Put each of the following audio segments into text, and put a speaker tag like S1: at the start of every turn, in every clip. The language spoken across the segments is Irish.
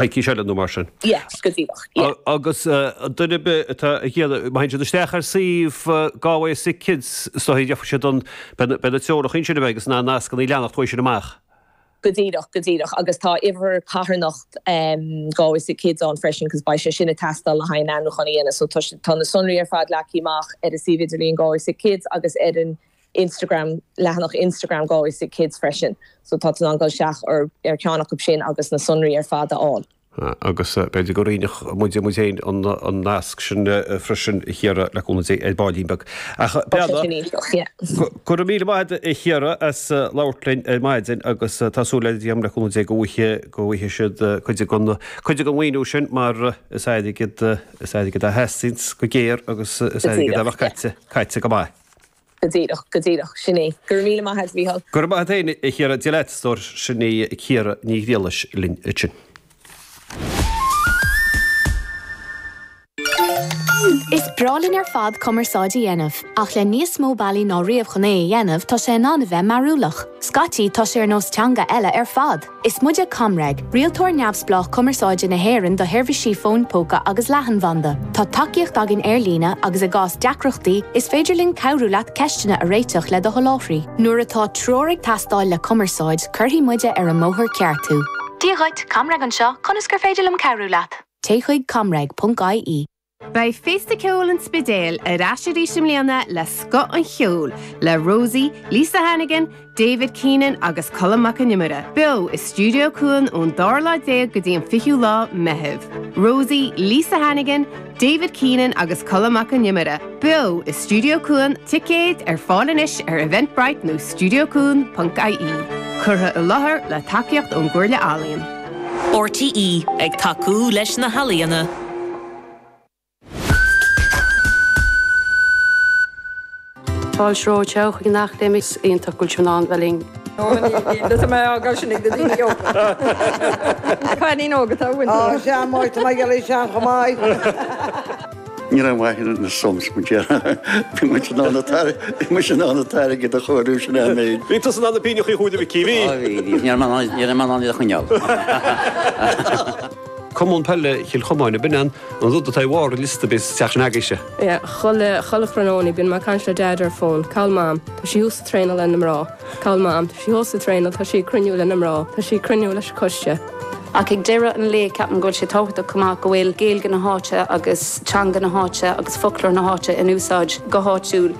S1: Coicís eile nó mar sin.
S2: Yes, go díreach, yeah.
S1: Agus duine ar bith atá ag iarraidh, má théann siad isteach ar suíomh Galway Sick Kids, is dóigh, gheobhaidh siad an, beidh na treoracha ansin a bheidh agus na nascanna ag leanacht uaidh sin amach.
S2: Go díreach, go díreach. Agus tá uimhir carthanacht Galway Sick Kids ann freisin cos beidh sé sin ag teastáil le haghaidh an ainmniúchán a dhéanamh. So tá tá na sonraí ar fad leagtha amach ar an suíomh idirlíon Galway Sick Kids agus ar an Instagram, leathanach Instagram Galway Sick Kids freisin. So tá tú in ann dul isteach ar ar cheann acu sin agus na sonraí ar fad a fháil.
S1: Agus b'fhéidir go roinnfeadh muide muid féin an nasc sin freisin, a Chiara, le cúnamh Dé, ar baillín beag. Ach
S2: Tá sé sin iontach, yeah.
S1: Go raibh míle maith agat, a Chiara, as labhairt linn ar maidin agus tá súil agam, le cúnamh Dé, go bhfaighidh, go bhfaighidh siad cuid den, cuid den mhaoiniú sin mar is airgead, is airgead a theastaíonns go géar agus is airgead a bheadh caite, caite go maith.
S2: Go díreach, go díreach, sin é. Go raibh míle maith agat, Mhícheál.
S1: Go raibh maith agat féin, a Chiara. Dia leat, a stór. Sin í Ciara Ní Ghriallais linn ansin.
S3: Is breá linn ar fad cumarsáid a dhéanamh, ach le níos mó bealaí ná riamh chun é a dhéanamh, tá sé in ann a bheith mearúlach. Scaití, tá sé ar nós teanga eile ar fad! Is muide ComReg, rialtóir neamhspleách cumarsáide na hÉireann do sheirbhísí fóin póca agus leathanbhanda. Tá tacaíocht againn ar líne agus i gcás deacrachtaí, is féidir linn cabhrú leat ceisteanna a réiteach le do sholáthraí. Nuair atá treoir ag teastáil le cumarsáid, cuirfidh muide ar an mbóthar ceart thú. Dia dhuit, ComReg anseo, conas gur féidir liom cabhrú leat? Téigh chuig comreg.ie.
S4: Beidh Féasta Ceoil an Spidéil ar ais arís i mbliana le scoth an cheoil le Rosie, Lisa Hannigan, David Keenan agus Colm Mac Con Iomaire, beo i Stiúideo Cuan ón dara lá déag go dtí an fichiú lá Meitheamh. Rosie, Lisa Hannigan, David Keenan agus Colm Mac Con Iomaire, beo i Stiúideo Cuan, ticéid ar fáil anois ar Eventbrite nó studiocuan.ie. Curtha i láthair le tacaíocht ón gComhairle Ealaíon.
S5: RTÉ, ag tacú leis na healaíona.
S6: Fáilte romhat chuig an Acadéim is iontach go bhfuil sibh in ann bheith linn.
S7: Tá mé á gabháil sin ag na daoine óga. Cailín óg atá uainn.
S8: Á, sea, Máire, tá mé ag iarraidh sean chomh maith.
S9: Ní raibh maith ar na sums, mo dheartháir. Bhí muid in ann bhí muid in ann an t-airgead a chomhaireamh sin é an méid.
S1: Bhí tusa in ann na pingneachaí a chomhaireamh a Mhicí, bhí?
S10: Á bhí, bhí. Ní raibh mé in ann, ní raibh mé in ann iad a choinneáil.
S1: Cumann Peile Chill Chomáin, ab in an rud atá i bharr an liosta bíos teach sin agaibhse.
S11: Yeah, chuile, chuile thráthnóna bíonn mé ag caint le Deaid ar an fón. Cá bhfuil Mam? Tá sí thuas ag traenáil le na mná. Cá bhfuil Mam? Tá sí thuas ag traenáil, tá sí ag cruinniú le na mná, tá sí ag cruinniú leis an coiste.
S6: Ach ag deireadh an lae ceapaim go bhfuil sé tábhachtach chomh maith go bhfuil Gaeilge na háite agus teanga na háite agus foclóir na háite in úsáid go háitiúil.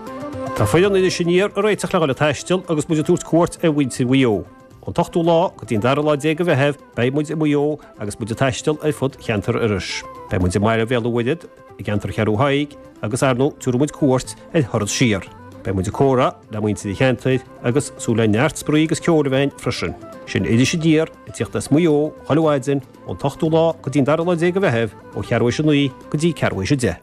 S1: Tá foireann Iris Aniar ag réiteach le dhul ag taisteal agus muid ag tabhairt cuairt ar mhuintir Mhaigh Eo. Ón t-ochtú lá go dtí an dara lá déag de Mheitheamh beidh muid i Maigh Eo agus muid ag taisteal ar fud cheantar Iorrais. Beidh muid i mBaile Bhéal an Mhuirthead, i gceantar Cheathrú Thaidhg agus ar ndóigh tabharfaidh muid cuairt ar Thuras Siar. Beidh muid ag comhrá le muintir an cheantair agus súil le neart spraoi agus ceoil a bheith ann freisin. Sin Iris Aniar ag tíocht as Maigh Eo chuile mhaidin ón t-ochtú lá go dtí an dara lá déag de Mheitheamh ó cheathrú théis a naoi go dtí ceathrú théis a deich.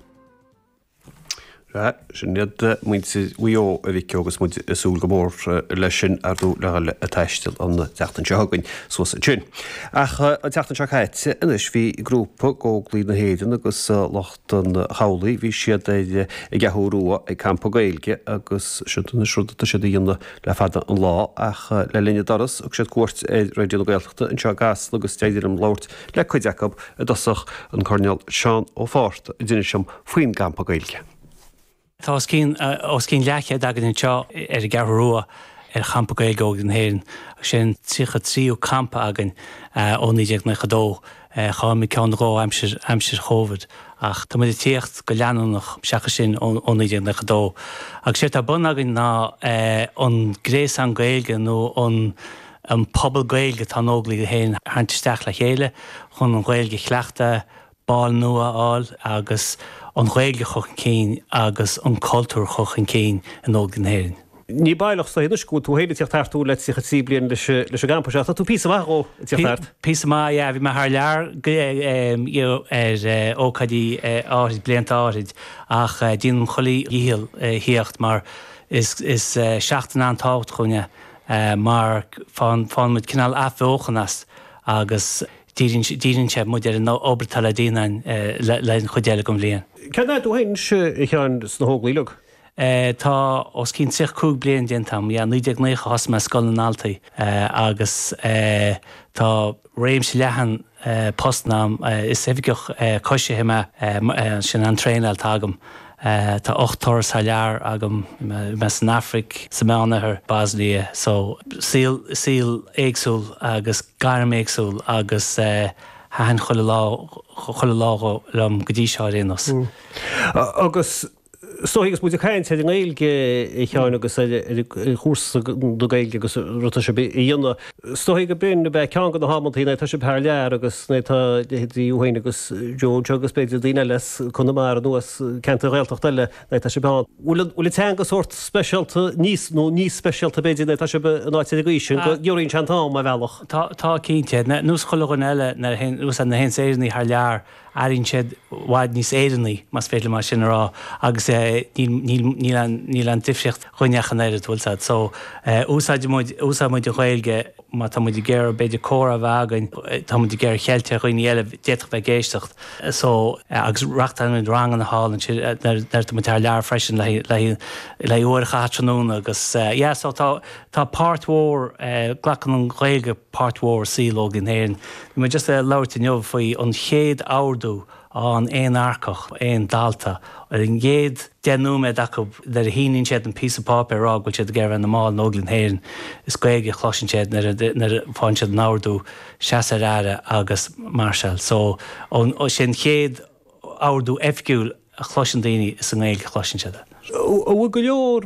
S1: Sin iad muintir Mhaigh Eo, a Mhicí, agus muid ag súil go mór leis sin, ar ndóigh, le dhul ag taisteal an tseachtain seo chugainn suas ansin. Ach an tseachtain seo caite anois bhí grúpa d'Óglaigh na hÉireann agus lucht an chabhlaigh, bhí siad ar an gCeathrú Rua ag campa Gaeilge agus sin anois rud atá siad a dhéanamh le fada an lá ach le linn a dturas thug siad cuairt ar Raidió na Gaeltachta anseo i gCasla agus d'éirigh liom labhairt le cuid acu i dtosach, an Coirnéal Seán Ó Fátharta a d'inis dom faoin gcampa Gaeilge.
S12: Tá os cionn os cionn leathchéad againn anseo ar an gCeathrú Rua ar Champa Gaeilge Óglaigh na hÉireann agus sé an 33ú campa againn ó 1992. Chaill muid ceann nó dhó aimsir aimsir Chóvid ach tá muid ag tíocht go leanúnach seachas sin ó 1992. Agus séard atá ar bun againn ná an gréasán Gaeilge nó an an pobal Gaeilge atá in Óglaigh na hÉireann a tharraingt isteach le chéile chun an Ghaeilge a chleachtadh, baill nua a fháil agus an Ghaeilge a chur chun cinn agus an cultúr a chur chun cinn in Óglaigh na hÉireann.
S1: Ní baileach is dóigh anois go bhfuil tú féin ag tíocht thart le 33 bliain leis an gcampa seo. Tá tú píosa maith dhó ag tíocht thart.
S12: Píosa maith, yeah. Bhí mé thar lear ar ócáidí áithrid, blianta áithrid, ach déanaim chuile dhícheall thíocht mar is seachtain an-tábhachtach dhúinn é mar faigheann muid cineál athbheochan as agus Díríonn sé muid ar an obair atá le déanamh le an chuid eile den bhliain.
S1: Cén fhad tú féin anois, a Sheáin, sna hÓglaigh uilig?
S12: Tá os cionn 35 bliain déanta agam. Yeah, 1990 a thosaigh mé i Scoil na nDaltaí agus tá réimse leathan. postanna agam. Is oifigeach coisithe mé, sin an traenáil atá agam. Tá 8 turas thar lear agam, bhí mé san Afraic, sa Meánoirthear, Bosnia, so saol, saol éagsúil agus gairm éagsúil agus thaitin chuile lá, chuile lá liom go dtí seo ar aon nós.
S1: Agus is dóigh agus muid ag caint ar an nGaeilge, a Sheáin, agus ar chúrsa na Gaeilge agus rud atá sibh a dhéanamh, is dóigh go b'in ab ea ceann de na hamantaí nuair atá sibh thar lear agus nuair atá leithéidí thú féin agus Joe anseo agus b'fhéidir daoine eile as Conamara nó as ceantair Ghaeltachta eile nuair atá sibh ann. Bhfuil an teanga sórt speisialta níos, nó níos speisialta b'fhéidir nuair atá sibh in áit ar an gcaoi sin go ngiorraíonn sé an t-am ar bhealach?
S12: Tá, tá cinnte. Nós chuile dhuine eile nuair a théann, nuair a théanns Éireannaigh thar lear, airíonn siad i bhfad níos Éireannaí, más féidir liom é sin a rá, agus níl aon, níl aon difríocht dhúinne ach an oiread, bhfuil 's a'd. So, úsáideann muid, úsáideann muid an Ghaeilge má tá muid ag iarraidh b'fhéidir comhrá a bheith againn, tá muid ag iarraidh ceilt ar dhaoine eile d'fhéadfadh bheith ag éisteacht. So, agus reáchtálann muid ranganna thall ansin nuair atá muid thar lear freisin le haghaidh, le haghaidh uair a chaitheamh tráthnóna agus yeah, so tá, tá páirt mhór, glacann an Ghaeilge páirt mhór i saol Óglaigh na hÉireann. Bhí muid just ag labhairt inniu faoi an chéad ordú a fhaigheann aon earcach, aon dalta, ar an gcéad 10 nóiméad acu nuair a shíníonn siad an píosa páipéir ag rá go bhfuil siad ag iarraidh bheith ina mball in Óglaigh na hÉireann, is Gaeilge a chloiseann siad nuair a faigheann siad an ordú, seas ar aire agus máirseáil. So, sin an chéad ordú oifigiúil a chloiseann daoine, is i nGaeilge a chloiseann siad é.
S1: An bhfuil go leor,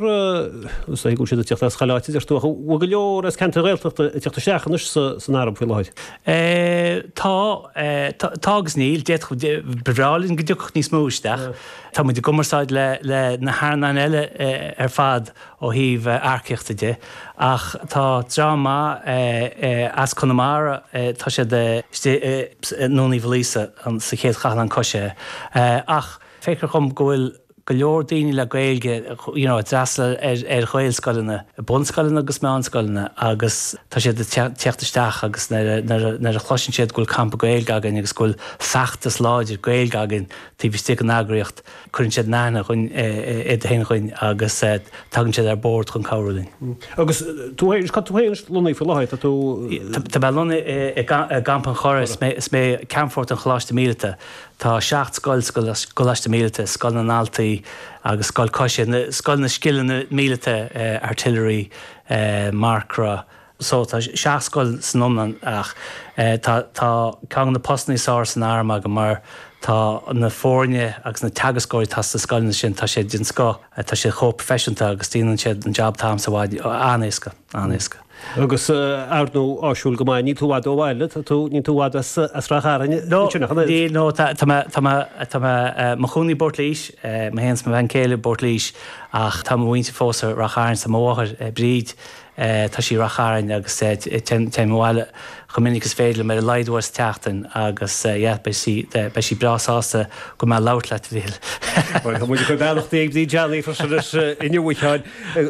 S1: is dóigh go bhfuil siad ag tíocht as chuile áit a deir tú, ach an bhfuil go leor as ceantair Ghaeltachta ag tíocht isteach anois san arm faoi láthair?
S12: Tá, tá agus níl. D'fhéadfadh, ba bhreá linn go dtiocfadh níos mó isteach. Tá muid i gcumarsáid le le na hairmheáin eile ar fad ó thaobh earcaíochta de, ach tá dream maith as Conamara, tá siad istigh i nDún Uí Mhaoilíosa sa chéad chathlán coisithe. Ach feictear dhom go bhfuil go leor daoine le Gaeilge you know a d'fhreastail ar ar Ghaelscoileanna, bunscoileanna agus meánscoileanna agus tá siad ag teacht isteach agus nuair a nuair a nuair a chloiseann siad go bhfuil campa Gaeilge againn agus go bhfuil feachtas láidir Gaeilge againn taobh istigh den eagraíocht, cuireann siad in aithne dhúinn iad féin dhúinn agus tagann siad ar bord chun cabhrú linn.
S1: Agus tú féin, cá tú féin lonnaithe faoi láthair, tá tú.
S12: Tá mé lonnaithe i gCampa an Churraigh, is mé Ceannfort an Choláiste Míleata. Tá 7 scoil sa gColáiste Míleata, Scoil na nDaltaí agus Scoil Coise, Scoil na Scileanna Míleata, Artillery, Marcra, so tá 7 scoil san iomlán ach tá tá ceann de na postanna is fearr san arm agam mar tá na foirne agus na teagascóirí atá sna scoileanna sin, tá siad den scoth, tá siad chomh proifisiúnta agus déanann siad an jab atá agamsa i bhfad an-éasca, an-éasca.
S1: Agus ar ndóigh áisiúil go maith, níl tú i bhfad ó bhaile, tá tú, níl tú i bhfad as, as Ráth Chairn
S12: ansin ach an oiread. Níl, no, tá, tá mé, tá mé, tá mé i mo chónaí i bPort Laoise, mé féin is mo bhean chéile i bPort Laoise ach tá mo mhuintir fós i Ráth Chairn, tá mo mháthair, Bríd, tá sí i Ráth Chairn agus téim abhaile chomh minic is féidir liom, ar a laghad uair sa tseachtain agus yeah, beidh sí, beidh sí breá sásta go mbeidh labhairt leat, a Mhíchíl.
S1: Bhuel, tá muid ag cur beannachtaí ag Bríd Johnny freisin anois inniu, a Sheáin.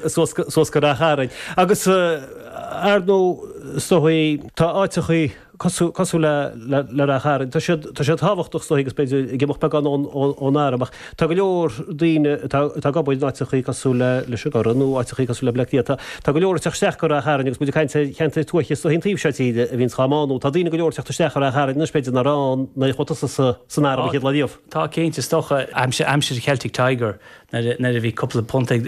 S1: suas go Ráth Chairn. Agus ar ndóigh, is dóigh, tá áiteachaí cosúil le Ráth Chairn, tá siad tá siad tábhachtach is dóigh agus b'fhéidir ag imeacht beagán ón arm ach tá go leor daoine atá atá ag obair in áiteachaí cosúil le leis an gCurrach nó áiteachaí cosúil le Bleá Cliath. Tá tá go leor ag teacht isteach go Ráth Chairn agus muid ag caint ar cheantair tuaithe is dóigh an taobh seo tíre a bhíonns dhá mbánú. Tá daoine go leor ag teacht isteach go Ráth Chairn anois b'fhéidir nach raibh ann nuair a chuaigh tusa san arm an chéad lá riamh.
S12: Tá cinnte, is dócha aimsir aimsir Celtic Tiger nuair a bhí cúpla punt ag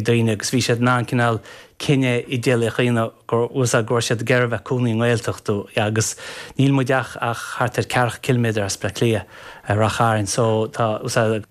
S12: daoine agus bhí siad in ann cineál cinneadh idéalaíoch a dhéanamh go raibh siad ag iarraidh bheith cónaí i nGaeltacht agus níl muid ach ach thart ar ceathracha ciliméadar as Bleá Cliath, Ráth Chairn so tá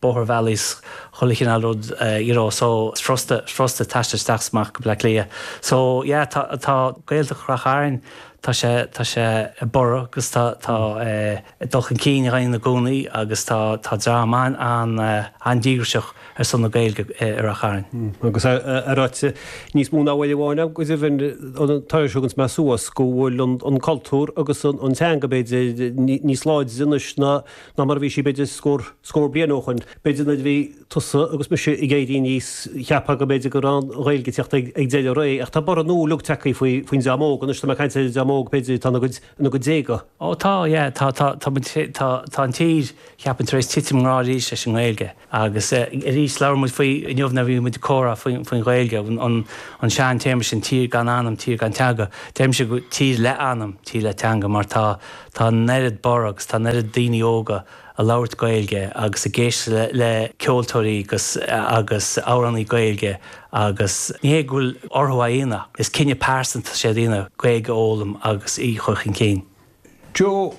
S12: bótharbhealaí is chuile chineál rud you know so is furasta furasta taisteal isteach is amach go Bleá Cliath. So yeah tá tá Gaeltacht Ráth Chairn tá sé tá sé ag borradh agus tá tá eh ag dul chun cinn againn i gcónaí agus tá tá dream an-an-díograiseach ar son na Gaeilge i Rath Chairn.
S1: Agus é ráite níos mó ná uair amháin agam, go deimhin, an turas a thuganns mé suas, go bhfuil an cultúr agus an teanga, b'fhéidir, níos láidre anois ná mar a bhí sí, b'fhéidir, scór scór bliain ó shoin. B'fhéidir nuair a bhí tusa agus mise ag éirí aníos, cheapfá go mb'fhéidir go raibh an Ghaeilge ag teacht ag deireadh ré, ach tá borradh nua uilig tagtha faoin dream óg anois, tá mé ag caint ar an dream óg. dream óg b'fhéidir atá ina gcuid, ina gcuid déaga.
S12: Ó tá, yeah, tá, tá, tá muid, tá, tá an tír, cheapfainn, tar éis titim i ngrá arís leis an nGaeilge. Agus arís, labhair muid faoi inniu nuair a bhí muid ag comhrá faoin Ghaeilge, an sean-téarma sin, tír gan anam, tír gan teanga. Deirimse go tír le anam, tír le teanga, mar tá tá an oiread borradh agus tá an oiread daoine óga ag labhairt Gaeilge agus ag éisteacht le ceoltóirí agus agus amhránaí Gaeilge agus ní hé go bhfuil orthu é a dhéanamh, is cinneadh pearsanta sé a dhéanamh Gaeilge a fhoghlaim agus í a chur chun cinn.
S1: Joe,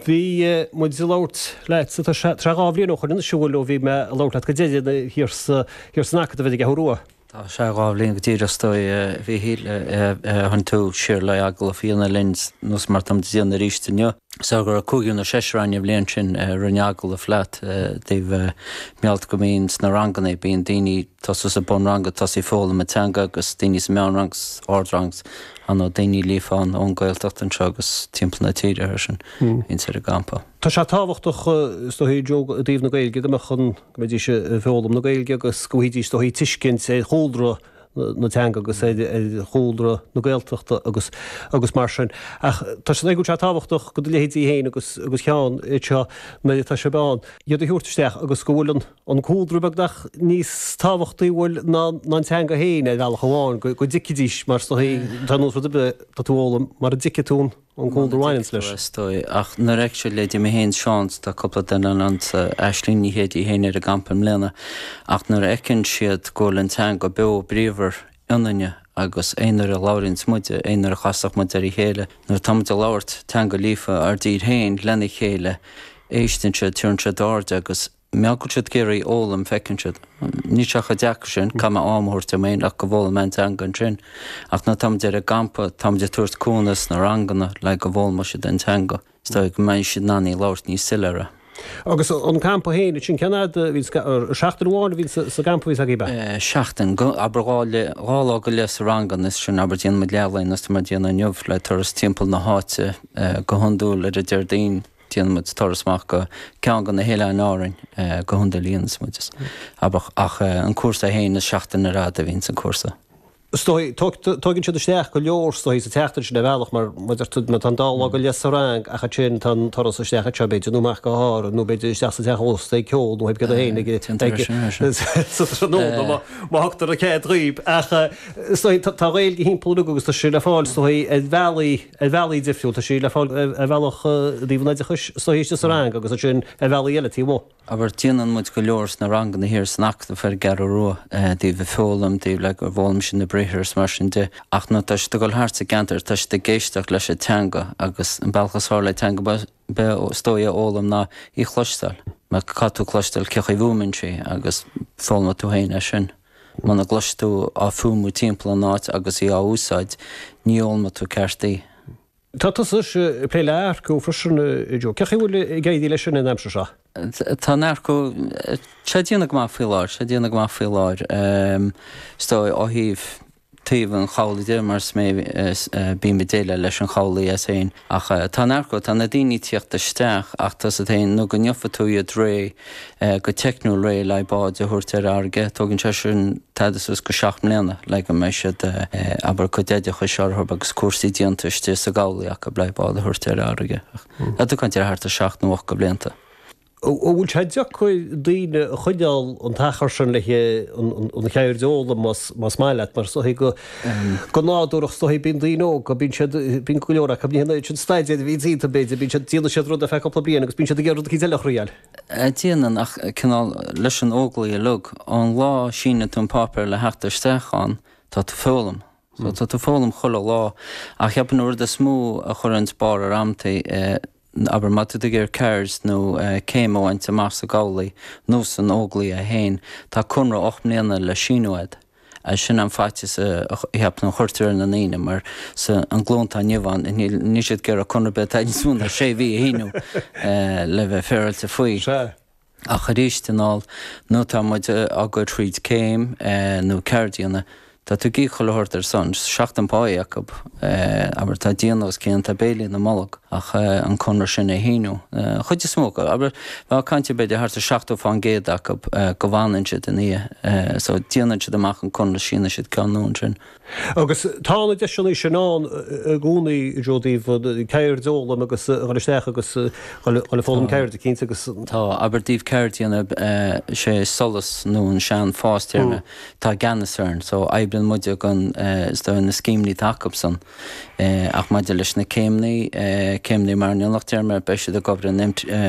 S1: Bhí muid ag labhairt leat, tá sé 2 bhliain ó shoin anois an bhfuil, ó bhí mé ag labhairt leat go deireanach thiar sa, thiar san Acadamh ar an gCeathrú Rua.
S13: Tá sé 2 bhliain go díreach is dóigh, a Mhíchíl, a tháinig tú siar le agallamh a dhéanamh linn nós mar táimid ag déanamh arís inniu. So go raibh cúigear nó seisear againn an bhliain sin a rinne agallamh leat i dtaobh mar gheall go mbíonn sna ranganna, bíonn daoine tosú sa bunrang ag tosaí foghlaim an teanga agus daoine sa meánrang, ardrang Tá daoine líofa ann ón Gaeltacht anseo agus timpeall na tíre freisin, bhíonns ar an gcampa.
S1: Tá sé tábhachtach, is dóigh, Joe, i dtaobh na Gaeilge go mbeadh an, go mbeidís ag foghlaim na Gaeilge agus go bhfaighidís, is dóigh, tuiscint ar chúlra na teanga agus ar chúlra na Gaeltachta agus agus mar sin. Ach tá sé, go bhfuil sé tábhachtach do do leithéidí féin agus agus Sheán anseo nuair atá sibh ann, iad a thabhairt isteach agus go bhfuil an, an cúlra beagnach níos tábhachtaí bhfuil ná an teanga féin ar bhealach amháin, go dtuigfidís mar is dóigh, tá nós rud ar bith tá tú a fhoghlaim mar a dtuigfidh tú an cúlra a bhaineanns leis.
S13: Is dóigh, ach nuair a fheictear leithéidí mé féin, Seán, tá cúpla duine eile ann, Aisling Ní Shé í féin ar an gcampa i mbliana, ach nuair a fheiceann siad go bhfuil an teanga beo bríomhar ionainne agus aon uair a labhraíonns muide, aon uair a chasfadh muid ar a chéile, nuair atá muid ag labhairt teanga líofa ár dtír féin lena chéile, éisteann siad, tabharann siad aird agus. Mar go bhfuil siad ag iarraidh fhoghlaim, feiceann siad. Níl sé chomh deacair sin, caithfidh mé am a thabhairt dom féin ach go bhfoghlaimeoidh mé an teanga ansin. Ach nuair atáimid ar an gcampa, táimid ag tabhairt cúnamh sna ranganna le go bhfoghlaimeoidh siad an teanga. Is dóigh go mbeidh siad in ann í a labhairt níos soiléire.
S1: Agus an campa féin, ansin, cén fhad a bhíonn, seachtain amháin a bhíonn sa gcampa a bhíonns agaibh, ab
S13: ea? Seachtain, abair 2 lá go leith sa ranganna, is sin, abair, déanann muid leathlae, nós mar a déanadh inniu, le turas timpeall na háite go hiondúil ar an Déardaoin. Déanann muid turas amach go ceann de na hoileáin Árainn go hiondúil a dhéanas muid abair ach an cúrsa féin is seachtain ar fhad a bhíonn san cúrsa.
S1: Is dóigh, tóigeann siad isteach go leor is dóigh sa tseachtain sin ar bhealach mar mar deir tú tá an dá lá go leith sa rang ach ansin tá an turas isteach anseo b'fhéidir nó amach go hÁrainn nó b'fhéidir isteach sa teach ósta ag ceol nó ag céard féin ag sa tráthnóna má thugtar an cead dhaoib ach is dóigh tá an Ghaeilge thimpeall uilig agus tá sé le fáil is dóigh ar bhealaí ar bhealaí difriúil. Tá sí le fáil ar bhealach i dtaobh an oideachais is dóigh istigh sa rang agus ansin ar bhealaí eile taobh amuigh.
S13: Abair, déanann muid go leor sna ranganna thiar san Acadamh ar an gCeathrú Rua, i dtaobh ag foghlaim, i dtaobh le go bhfoghlaim siad na briathra is mar sin de. Ach nuair atá siad ag dul thart sa gceantar, tá siad ag éisteacht leis an teanga agus an bealach is fearr le teanga is dóigh a fhoghlaim ná í a chloisteáil. Mar caithfidh tú cloisteáil cé chaoi a bhfuaimeann sí agus foghlaimeoidh tú féin é sin. Muna gcloisfidh tú á fuaimiú timpeall an áit agus í á úsáid, ní fhoghlaimeoidh tú ceart í.
S1: Tá tusa anois ag plé le earcú freisin, a Joe. Cén chaoi a bhfuil ag éirí leis sin an aimsir seo?
S13: Tá an earcú, tá sé ag déanamh go maith faoi láthair, tá sé ag déanamh go maith faoi láthair. Is dóigh ó thaobh taobh an chabhlaigh de mar is mé a bím ag déileáil leis an chabhlaigh as féin. Ach tá an earcú, tá na daoine ag tíocht isteach ach tá 's agat féin nó go ngeofa tú iad réidh go teicniúil réidh le báid a thabhairt ar fharraige, tógann sé sin tada suas go 7 mbliana le go mbeidh siad abair cuid oideachais orthu agus cúrsaí déanta istigh sa gcabhlaigh acu le bád a thabhairt ar fharraige. Ach tá tú ag caint ar thart ar 7 nó 8 de bhlianta.
S1: An bhfuil sé deacair daoine a choinneáil an t-achar sin le an cheird a fhoghlaim más maith leat mar is dóigh go go nádúrach is dóigh bíonn daoine óga bíonn siad bíonn go leor acu ní hé sin staidéar a bhíonn iontu b'fhéidir bíonn siad déanann siad rud ar feadh cúpla bliain agus bíonn siad ag iarraidh rud eicínt eile a thriail.
S13: Déanann ach cineál leis an Óglaigh uilig ón lá a síneann tú an páipéar le theacht isteach ann tá tú ag foghlaim. So tá tú ag foghlaim chuile lá ach cheapfainn an rud is mó a chuireanns barr ar amantaí Abair, má tá tú ag iarraidh ceird nó céim a bhaint amach sa gcabhlaigh nó san Óglaigh é féin, tá conradh 8 mbliana le síniú agat. Sin an faitíos a cheapaim a chuirtear ar na ndaoine mar sa an glúin atá inniu ann, níl siad ag iarraidh conradh ar bith atá níos mó ná sé mhí a shíniú le bheith féaráilte faoi.
S1: Sea.
S13: Ach arís anall, nuair atá muid ag goil thríd céim nó ceird a dhéanamh. Tá tú ag íoc chuile shórt ar son, seachtain páí acu, abair, tá déanamh os cionn, tá béilí ina mbolg ach an conradh sin a shíniú. An chuid is mó acu, abair, bheifeá ag caint ar b'fhéidir thart ar 70% acu go bhfanann siad ina dhiaidh. So déanann siad amach an conradh, síneann siad ceann nua ansin.
S1: Agus tá na deiseanna sin ann i gcónaí, Joe, daoibh ceird a fhoghlaim agus a dhul isteach agus dhul ag foghlaim ceirde, cinnte, agus.
S13: Tá, abair i dtaobh ceirde, sé Solas nó an sean FÁS déarfainn atá i gceannas orainn so oibríonn muide gan is dóigh na scéimeanna atá acu-san. Ach maidir leis na céimeanna, céimeanna mar an mionlach déarfainn, beidh siad ag obair in.